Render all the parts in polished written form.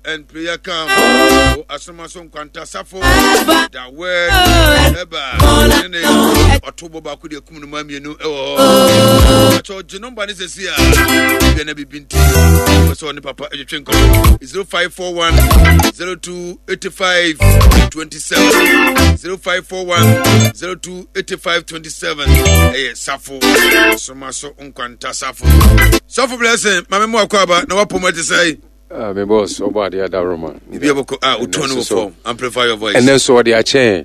and Prayer Camp wɔ Asomaso Nkwanta Safo da word ɛba ne ne ɔto bɔ baako deɛ kum no ma mmienu ɛwɔ hɔ. Akyɛ ɔgye nɔmba ne sɛsi a bia na biribi nti wɔ sɛ ɔne papa ɛtwetwe nkɔmmɔ 0541 02 85 27 0541 02 85 27 ɛyɛ Safo Asomaso Nkwanta Safo. Sɔfo Blessing, maame mu akɔ aba na wapɔ mu ɛte sɛ. Ah, me boss, ɔbɔ adeɛ adaworoma. Bibi abɔkɔ ah, wotɔn no wɔ fam. Amplify your voice. Ɛnɛ nso ɔde akyɛn.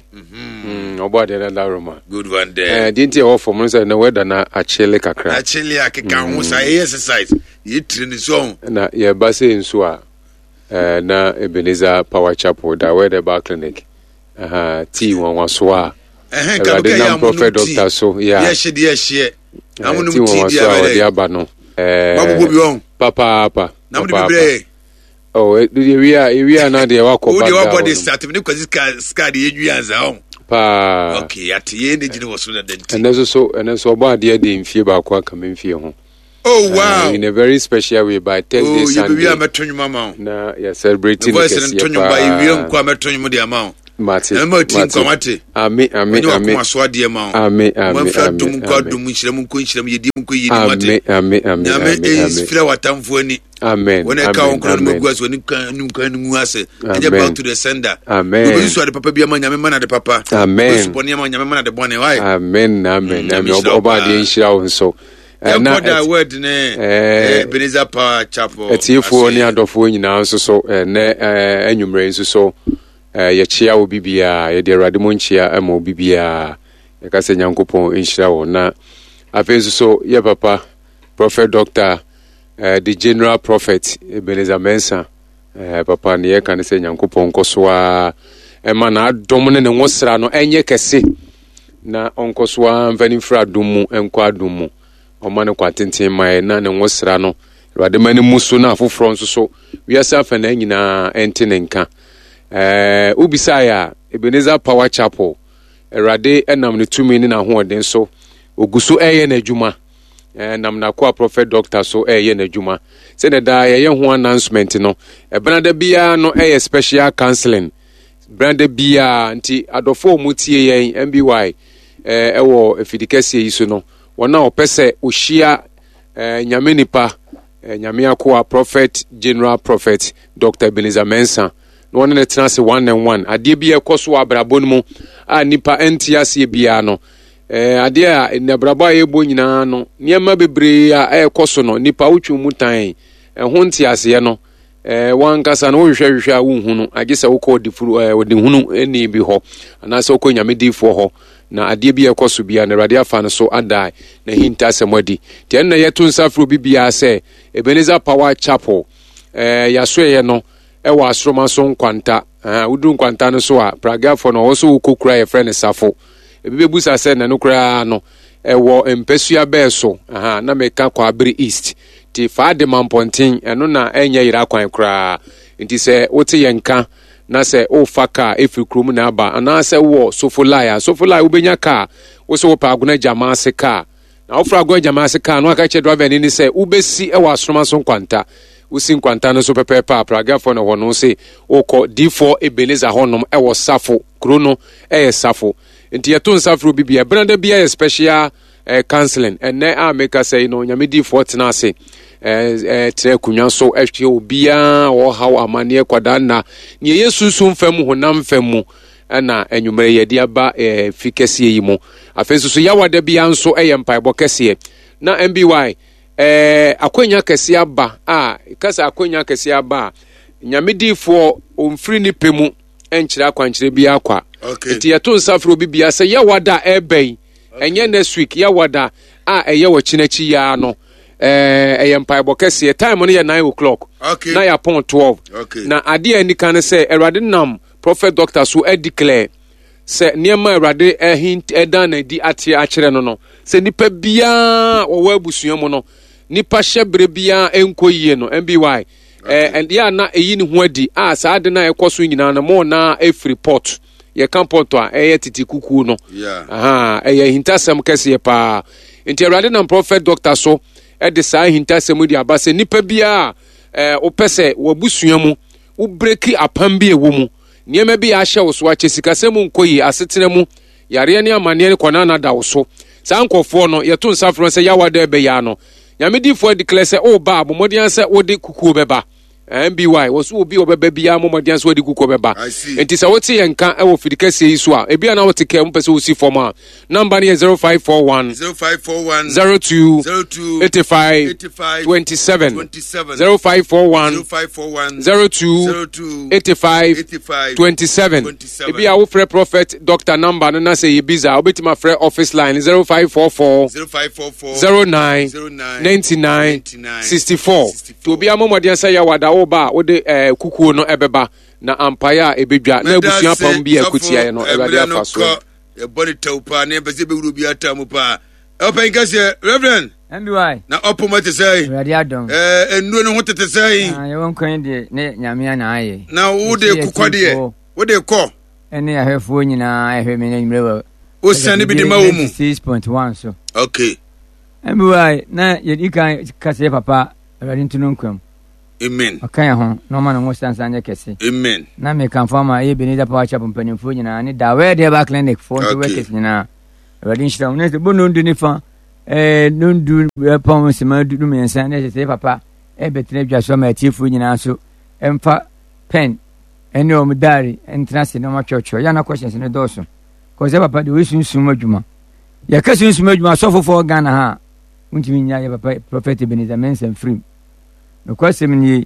Ɔbɔ adeɛ adaworoma. Good one there. Eh, deɛ nti ɛwɔ fam no sɛ na wɛda na akyele kakra. Akyele akeka ho saa ɛyɛ exercise. Yɛ tiri ne so ho. Na yɛba sɛ nso a eh, na Ebenezer Power Chapel da wɛda ba clinic. Aha, tii nwanwaso a. Awurade nam prophet doctor so. Yeah. Yɛ hye deɛ hyeɛ. Na mo nom tii deɛ abɛdɛ. Ɔde aba no. Wabobɔ bi wɔn. Papaapa. Na mo de bi brɛ yɛ. Oh, ewia ewia na deɛ wakɔ ba. O deɛ wabɔ de start ne kwasi sika sika de yɛ nwi ansa ɔn. Paa. Okay, ate yɛ ne gyina wɔ so dada nti. Ɛnɛ nso so ɛnɛ nso ɔbɔ adeɛ de mfie baako aka me mfie ho. Oh wow. In a very special way by Thursday, oh, Sunday. Oh, yɛ mɛto nnwom ama wo. Na yɛ celebrate ne kɛseɛ paa. Nnwom ba yɛ nkɔ a mɛto nnwom de ama wo. Mate. Ɛma ti nkwa mate. Ame ame ame. Onye wakoma so adeɛ ma wo. Ame ame ame. Mafra dum nkɔ adum nhyira mu nkɔ nhyira mu yɛdi mu nkɔ yɛdi mu ate. Ame ame ame. Nyame ɛnfira w'atamfo ani. Amen. Wɔn ɛka wɔn kura no mu agu ase wɔn kan no kan no mu ase. Ɛnyɛ back to the sender. Amen. Obi nso ade papa bi ama nyame mana de papa. Amen. Obi nso bɔne ama nyame mana de bɔne. Why? Amen amen amen. Ɔba adeɛ nhyira wo nso. Yɛnkɔ da word ne Ebenezer Power Chapel. Atiefoɔ ne adɔfoɔ nyinaa nso so ɛnɛ anwummerɛ nso so yɛkyea obi biara, yɛde Awurade mu nkyea ma obi biara. Yɛka sɛ Nyankopɔn nhyira wɔn. Na afei nso so yɛ papa Prophet Doctor the General Prophet Ebenezer Mensah papa ne yɛka ne sɛ Nyankopɔn nkɔ so ara ɛma n'adom ne ne nwosra no ɛnyɛ kɛse na ɔnkɔ so ara mfa ne mfiri adom mu nkɔ adom mu. Ɔma no kwa tenten ma yɛ na ne nwosra no Awurade ma no mu so na afoforɔ nso so wiase afanaa nyinaa ɛnte ne nka. Ɛɛ wobisaeɛ a Ebenezer Power Chapel Awurade nam ne tumi ne n'ahoɔden so ogu so ɛreyɛ n'adwuma. Ɛnam n'akoa Prophet Doctor so ɛreyɛ n'adwuma. Sɛdeɛ daa yɛyɛ ho announcement no, ɛbenada biara no ɛyɛ special counseling. Benada biara nti adɔfoɔ a wɔtie yɛn MBY ɛwɔ afidi kɛseɛ yi so no, wɔn a wɔpɛ sɛ wɔhyia Nyame nipa, Nyame akoa Prophet General Prophet Dr. Ebenezer Mensah na wɔne no tena ase one and one. Adeɛ bi a ɛkɔ so wɔ abrabɔ no mu a nipa nte aseɛ biara no, adeɛ a abrabɔ a yɛbɔ nyinaa no, nneɛma bebree a ɛrekɔ so no, nipa wotwe mu tan ɛho nteaseɛ no, wankasa no wohwehwɛ hwehwɛ a wonhu no, agye sɛ wokɔ ɔdefuru ɔdehunu ni bi hɔ anaasɛ wokɔ nyame diifoɔ hɔ na adeɛ bi a ɛkɔ so biara no Awurade afa no so ada n'ahintasɛm adi. Nti ɛno na yɛto nsa frɛ obi biara sɛ Ebenezer Power Chapel yɛasoɛeɛ no ɛwɔ Asoroma so Nkwanta. Woduru Nkwanta no so a, Pragafoɔ no ɔwɔ so wokɔ kura yɛfrɛ no Safo. Ebi bɛbusa sɛ na no koraa no ɛwɔ mpasua bɛɛ so. Na meka Kwaabere East. Nti fa de ma mpɔnten, ɛno na ɛnyɛ yera kwan koraa. Nti sɛ wote yɛn nka na sɛ wofa kaa ɛfiri kurom na aba anaasɛ wowɔ Sofolai a, Sofolai wobɛnya kaa, wo sɛ wopɛ Agona Gyama ase kaa. Na wofrɛ Agona Gyama ase kaa no aka kyerɛ driver ni ne sɛ wobɛsi wɔ Asoroma so Nkwanta. Wosi Nkwanta no so pɛpɛɛpɛ a, Pragafoɔ na hɔ no se wokɔ D4 Ebenezer hɔnom ɛwɔ Safo, kuro no ɛyɛ Safo. Nti yɛto nsa frɛ obi bia, Benada bia yɛ special counseling. Ɛnɛ a meka sɛ yi no, Nyame diifoɔ tena ase tena akonnwa so ɛhwɛ obiara ɔhaw amanneɛ kwadaa nna nea ɛyɛ sunsum fam honam fam mu ɛna anwummerɛ yɛde aba fi kɛseɛ yi mu. Afei nso so yawada biara nso ɛyɛ mpaebɔ kɛseɛ na MBY akwanya kɛseɛ aba a kasa akwanya kɛseɛ aba a Nyame diifoɔ ɔmfiri ne pɛ mu ɛnkyerɛ akwankyerɛ biara kwa. Nti yɛto nsa frɛ obi biara sɛ yawada a ɛreba yi, ɛnyɛ next week, yawada a ɛyɛ wɔ kyinakyi yaa no, ɛyɛ mpaebɔ kɛseɛ. Time no yɛ 9 o'clock na yɛapɔn 12. Na adeɛ a anika ne sɛ Awurade nam Prophet Doctor so adeclare sɛ nneɛma a Awurade ɛdan no adi ate akyerɛ no no, sɛ nipa biara wɔwɔ abusua mu no, nipa hyɛ berɛ biara ɛnkɔ yie no, MBY, ɛdeɛ a na ɛyi ne ho adi a saa ade no a ɛkɔ so nyinaa no mo na ɛfiri port, yɛka port a ɛyɛ tete kukuo no, ɛyɛ ahintasɛm kɛseɛ paa. Nti Awurade nam Prophet Doctor so ɛde saa ahintasɛm de aba sɛ nipa biara wopɛ sɛ w'abusua mu. Wobreki apam bi a ɛwɔ mu, nneɛma bi a ahyɛ wo so akyɛ, sikasɛm mu nkɔ yie, asetena mu, yareɛ ne amanneɛ ne kɔnana da wo so. Saa nkurɔfoɔ no, yɛto nsa frɛ wɔn sɛ Yawa da ɛbɛyɛ ano. Nyame difoɔ adeclare sɛ woba a, bɔ mmɔden ara sɛ wode kukuo bɛba. NBY, wɔ so obi a ɔbɛba biara mmɔ mmɔden sɛ ɔde kukuo bɛba. Nti sɛ wote yɛn nka wɔ fidi kɛseɛ yi so a, ebi a na wote kaa mu pɛ sɛ wosi fam a, namba no yɛ 0541 0541 02 02 85 85 27 27 0541 0541 02 02 85 85 27. 27. Ebi a wofrɛ prophet doctor number no na sɛ yɛ busy a, wobɛtumi afrɛ office line 0544 0544 09 09 99 99 64. Nti obiara mmɔ mmɔden sɛ yɛwɔ ada woba a wode eh, kukuo no ɛbɛba na ampaeɛ a ɛbɛdwa na abusua apam bi a ɛkotiaeɛ no Awurade afa so. Yɛbɔ ne tɛw paa ne yɛmpɛ sɛ yɛbɛwura obi ataa mu paa. Ɔpɛn kɛseɛ, Reverend. MBY. Na ɔpoma te sɛ. Awurade adɔm. Ɛɛ nnuro no ho tete sɛ. Ah, yɛwɔ nkwan deɛ ne nyame ana ayɛ. Na wo de kokɔ deɛ, wo de kɔ. Ɛne ahwɛfoɔ nyinaa ɛhwɛ me n'anwummerɛ wɔ. Wosiane bi de ma wɔ mu. 6.1 so. Okay. MBY na yɛdi kan kasa yɛ papa Awurade nto no nkwa mu. Amen. Ɔka yɛn ho na ɔma ne ho sansan nyɛ kɛse. Amen. Na mekamfo ama ɛyɛ Ebenezer Power Chapel mpanimfoɔ nyinaa ne Dawɛd Herbal Clinic foɔ nso workers nyinaa. Awurade nhyira wɔn. Na sɛ bɔ nondu ne fa ɛɛ nondu ɛpɔn nsema du mmiɛnsa na ɛsɛ sɛ papa ɛbɛtena adwa so ama atiefoɔ nyinaa nso ɛmfa pɛn ɛne wɔn diary ntena ase na wɔn atwerɛtwerɛ. Yɛn na questions no dɔɔso. Kɔ sɛ papa deɛ ɔyɛ sunsum adwuma. Yɛka sunsum adwuma asɔfofoɔ Ghana ha a wontumi nya yɛ papa Prophet Ebenezer Mensah mfirim. Nokwasɛm nie,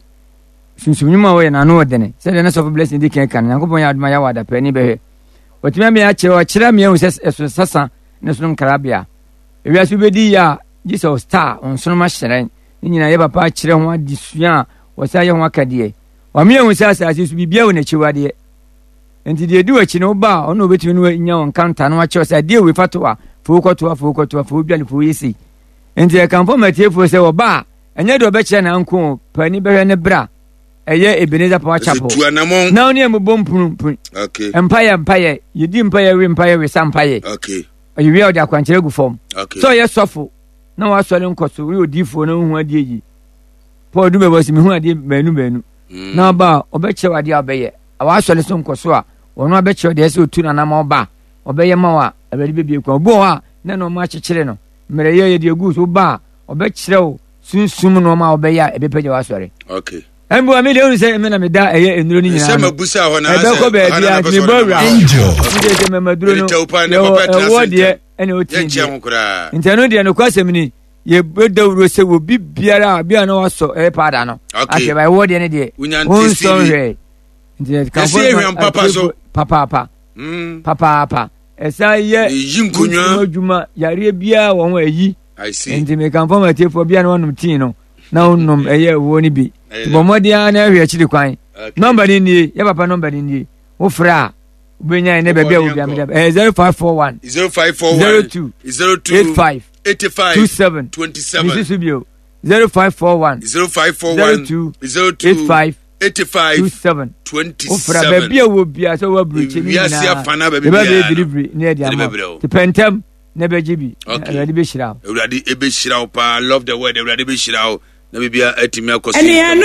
sunsum nnwuma a wɔyɛ no ano ɔdene. Sɛdeɛ na sɔfo Blessing di kan ka no, Nyankopɔn yɛ adom a yɛawɔ adapɛni bɛhwɛ. Watumi ama yɛakyerɛ, ɔkyerɛ me ahu sɛ ɛso sasa ne sono nkrabea. Ewiase wobɛdi yie a, gye sɛ ɔstar, ɔnsoroma hyerɛn. Ne nyinaa yɛ papa akyerɛ ho adesua a wɔsan yɛ ho akadeɛ. Wama yɛahu sɛ asase so biribiara wɔ n'akyiwadeɛ. Nti deɛ ɛdi w'akyi no woba a, ɔno obɛtumi no anya wo nkanta na wakyerɛ sɛ adeɛ wei fa to a, fa wo kɔto a, fa wo kɔto a, fa wo dwane, fa wo yɛ sei. Nti ɛkamfo ma atiefoɔ sɛ wɔba a, ɛnyɛ deɛ ɔbɛkyerɛ na nko o, paani bɛhwɛ ne bra ɛyɛ Ebenezer Power Chapel. Na ɔne ɛmu bɔ mpunu mpunu. Okay. Mpayɛ mpayɛ, yɛdi mpayɛ we mpayɛ we sa mpayɛ. Okay. Ɔyɛ wie a ɔde akwankyerɛ gu fam. Okay. Sɛ ɔyɛ sɔfo na wasɔre nkɔ so, woyɛ odiifoɔ na wohu adeɛ yi. Paul du bɛbɔ sɛ mehu adeɛ baanu baanu. Na ɔba a ɔbɛkyerɛ wo adeɛ a ɔbɛyɛ. Wasɔre so nkɔ so a, ɔno abɛkyerɛ deɛ ɛsɛ otu nanam ɔba a ɔbɛyɛ ma wo a Awurade bɛbie kwan. Obi wɔ hɔ a na nneɛma akyekyere no. Mmerɛyɛ yɛ deɛ gu so ba a ɔbɛkyerɛ wo sunsum nneɛma a ɔbɛyɛ a ɛbɛpagya w'asɔre. Okay. Ɛmboa mi deɛ ohun sɛ ɛmɛ na mi da ɛyɛ nnuro no nyinaa no. Ɛbɛkɔ baabi a mi bɔ awura hɔ. Mi deɛ sɛ mɛmɛduro no yɛwɔ ɛwɔ deɛ ɛna oti deɛ. Nti ɛno deɛ nokɔ asɛm ni yɛbɛ dawuro sɛ wɔ bi biara a bi a na wasɔ ɛyɛ paada no. Ahwɛ ba ɛwɔ deɛ ne deɛ. Wɔn nsɔ nhwɛ. Nti kanfo papaapa papaapa ɛsan yɛ adwuma yareɛ biara wɔ ho ɛyi. Nti mekamfo ma atiefoɔ bia na wanom tii no na wonom ɛyɛ ɛwoɔ no bi. Nti bɔ mmɔden ara na ɛhwɛ akyiri kwan. Nɔmba no nie, yɛ papa nɔmba no nie. Wofrɛ a wobɛnya ɛnɛ baabi a wobia meda. Ɛyɛ 0541 0541 02 02 85 85 27 27 Mesi so bio 0541 0541 02 02 85 85 27 27 Wofrɛ baabi a wɔ bia sɛ wɔaburokyi ne Wiase nyinaa. afa na baabi Yɛbɛbɛyɛ biara no. delivery ne ɛde Yɛde ama. bɛbrɛ wo. Nti pɛ ntɛm na ɛbɛgye bi. Okay. Awurade bɛhyira wo. Awurade ɛbɛhyira wo paa love the word Awurade bɛhyira wo na biribia atumi akɔ so. Anuanom.